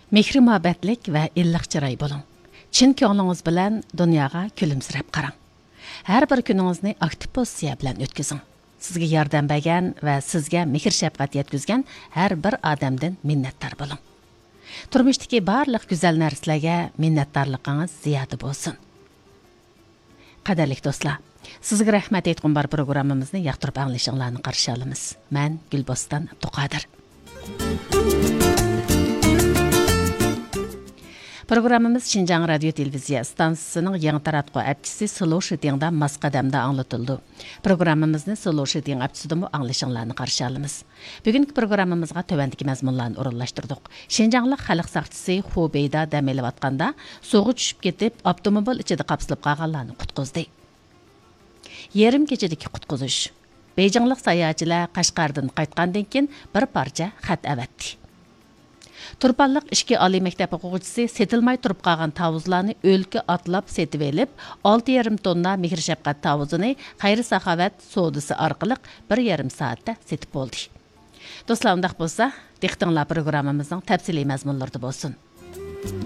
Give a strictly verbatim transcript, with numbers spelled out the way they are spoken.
مېھرى مۇھەببەتلىك ۋە ئىللىق چىراي بولۇڭ. چىن كۆڭلىڭىز بىلەن دۇنياغا كۈلۈمسىرەپ قاراڭ. ھەر بىر كۈنىڭىزنى ئاكتىپ پوزىتسىيە بىلەن ئۆتكۈزۈڭ. سىزگە ياردەم بەرگەن ۋە سىزگە مېھىر-شەپقەت يەتكۈزگەن ھەر بىر ئادەمدىن مىننەتدار بولۇڭ. تۇرمۇشتىكى بارلىق گۈزەل نەرسىلەرگە مىننەتدارلىقىڭىز زىيادە بولسۇن. قەدىرلىك دوستلار، سىزگە رەھمەت ئېيتقۇم بار پروگراممىمىزنى ياقتۇرۇپ ئاڭلىشىڭلارنى قارشى ئالىمىز. مەن گۈلبوستان ئابدۇقادىر. پروگراممىمىز شىنجاڭ رادىيو تېلېۋىزىيە ئىستانسىسىنىڭ يېڭى تاراتقۇ ئەپچىسى سلو شىتىڭدا ماس قەدەمدە ئاڭلىتىلىدۇ. پروگراممىمىزنى سلو شىتىڭ ئەپچىسىدىمۇ ئاڭلىشىڭلارنى قارشى ئالىمىز. بۈگۈنكى پروگراممىمىزغا تۆۋەندىكى مەزمۇنلارنى ئورۇنلاشتۇردۇق. شىنجاڭلىق خەلق ساقچىسى خۇ بېيدا دەم ئېلىۋاتقاندا سۇغا چۈشۈپ كېتىپ، ئاپتوموبىل ئىچىدە قاپسىلىپ قالغانلارنى قۇتقۇزدى. يېرىم كېچىدىكى قۇتقۇزۇش. بېيجىڭلىق ساياھەتچىلەر قەشقەردىن قايتقاندىن كېيىن بىر پارچە خەت ئەۋەتتى. تۇرپانلىق ئىككى ئالىي مەكتەپ ئوقۇغۇچىسى سېتىلماي تۇرۇپ قالغان تاۋۇزلارنى ئۆلكە ئاتلاپ سېتىۋېلىپ، ئالتە يېرىم توننا مېھىر-شەپقەت تاۋۇزىنى خەير-ساخاۋەت سودىسى ئارقىلىق بىر يېرىم سائەتتە سېتىپ بولدى. دوستلار، ئۇنداق بولسا، دىققىتىڭلار پروگراممىمىزنىڭ تەپسىلىي مەزمۇنلىرىدا بولسۇن.